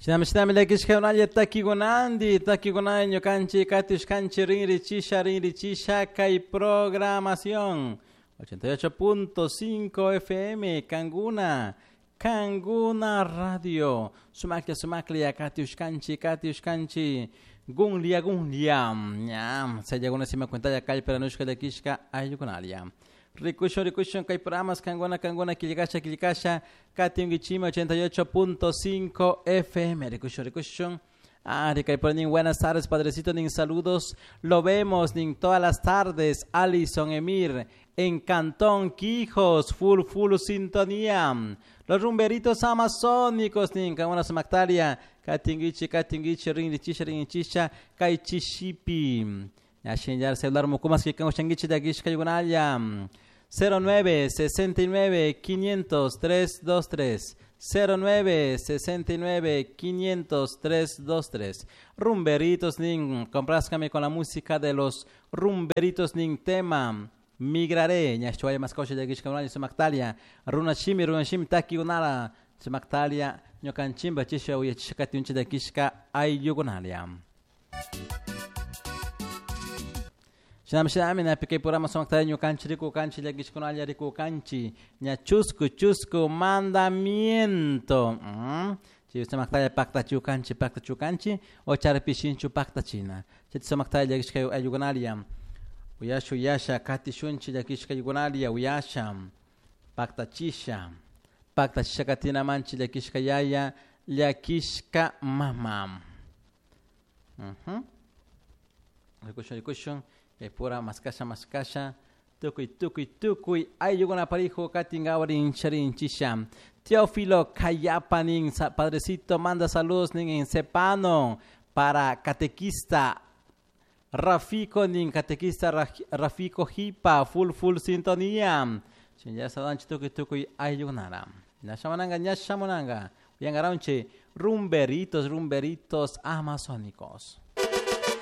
Shinami shinami llakishka takikunandi takikunandi ñukanchik katishkanchik rinrichisha rinrichisha kay programación 88.5 FM Kanguna Kanguna Radio. Sumaklla sumaklla katiushkanchik katiushkanchik gunlia gunlia. Ñam sayaguna sima cuentalla kallparanushka llakishka ayllukunalia. Rikushun rikushun kay programas kanguna kanguna killkasha killkasha katingichima 88.5 FM rikushun rikushun. Ah, nin buenas tardes, padrecito, nin saludos. Lo vemos, nin todas las tardes. Alison Emir, en Cantón Quijos, full, full sintonía. Los rumberitos amazónicos, nin kanguna sumaktaria. Katingichi, katingichi, rinrichisha, rinrichisha, kaichishipi. Yashin celular mukumas que kango de agishka yugunalla. 09 69 500 323 09 69 500 323 Rumberitos nin, complázcame con la música de los Rumberitos nin tema Migraré, ñashchuaya maskosha llakishka unalla sumaktalia runa shimi runa shimi taki unala sumaktalia ñukanchimba chisha uyachisha katiuncha llakishka ayllukunalia. Shinami shinami napi kay programa sumaktalia ñukanchi rikukanchi llakishkunalla rikukanchi ña chusku chusku mandamiento. Chay sumaktalia paktachukanchi paktachukanchi o charpishinchu paktachina. Chay sumaktalia llakishka ayllukunalia. Uyasha uyasha katishunchi llakishka ayllukunalia uyasha paktachisha paktachisha katinamanchi llakishka yaya llakishka mama. Rikushun rikushun kay pura maskasha maskasha tukuy tukuy tukuy ayllukuna parijo katinkawa rincha rinchisha. Teófilo Cayapa nin padrecito manda saludos nin en Cepano para catequista Rafico nin catequista Rafico Jipa full full sintonía. Ya sadanchi tukuy tukuy ayllukunara. Ñashamananga ñashamunanga. Uyangaranche rumberitos rumberitos amazónicos.